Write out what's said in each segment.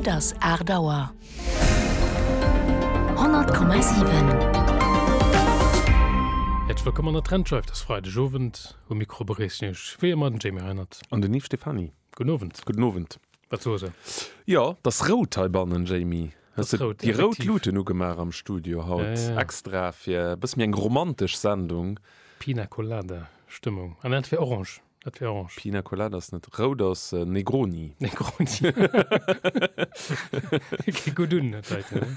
Et ass 8 Auer. 100,7. Häerzlech wëllkomm an der Trendscheif. Et ass Freidegowend. Um Mikro begréissen Iech wéi ëmmer den Jamie Reinert. An den Yves Stephany. Gudden Owend. Gudden Owend. Wat soe se? Jo, et ass rout heibannen, Jamie. Hues de déi rout Luuten ugemaach am Studio haut? Extra fir e bësse méi eng romantesch Sendung. Pina Colada Stëmmung. Ah, dat wär orange. Dat wär orange. Pina Colada ass net rout, ass Negroni. Negroni. Geet gutt un, dat heiten.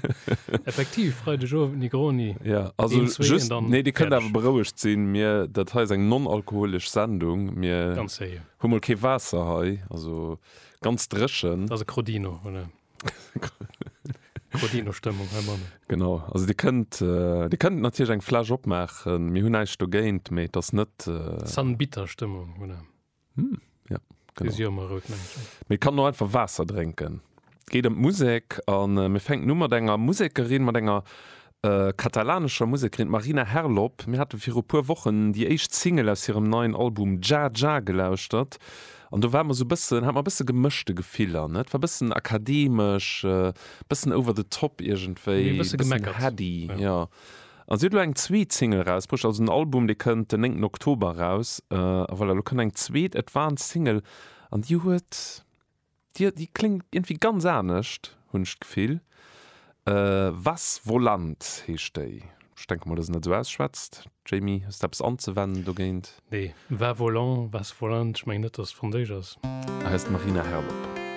Effektiv, Freideg Owend Negroni. Ja, also just, nee, dir kënnt awer berouegt sinn, mir, dat hei ass eng non-alkoholesch Sendung. Mir hu mol kee Waasser hei, also ganz dréchen. Dat ass e Crodino, oder? Crodino-Stëmmung heibannen. Genau, also dir kënnt, dir kënnt natierlech eng Fläsch opmaachen, mir hunn näischt dogéint, mee et ass net. Sanbitter-Stëmmung, oder? Hm, ja, genau. Déi si jo ëmmer rout, mengen ech. Mee et kann och einfach Waasser drénken. Et geet ëm d'Musek a mir fänken u mat enger Musekerin, mat enger katalanescher Musekerin, d'Marina Herlop. Mir hate viru puer Wochen déi éischt Single aus hirem neien Album Dja Dja gelauschtert an do ware mer sou bëssen, hate mer e bësse gemëschte Gefiller, ne? Et war bëssen akademesch, bëssen over the top iergendwéi, e bësse heady, jo. An si huet elo eng zweet Single erausbruecht, also den Album dee kënnt den 9 Oktober eraus a voilà, elo kënnt eng zweet Advance Single an déi huet, Déi, déi kléngt iergendwéi ganz anescht, hunn ech d'Gefill. Was volant heescht déi. Ech denke mol, dass een dat esou ausschwätzt. Jamie, hues de eppes anzewennen dogéint? Nee, va volant, was volant, ech mengen net, dass et franséisch ass. Hei ass d'Marina Herlop.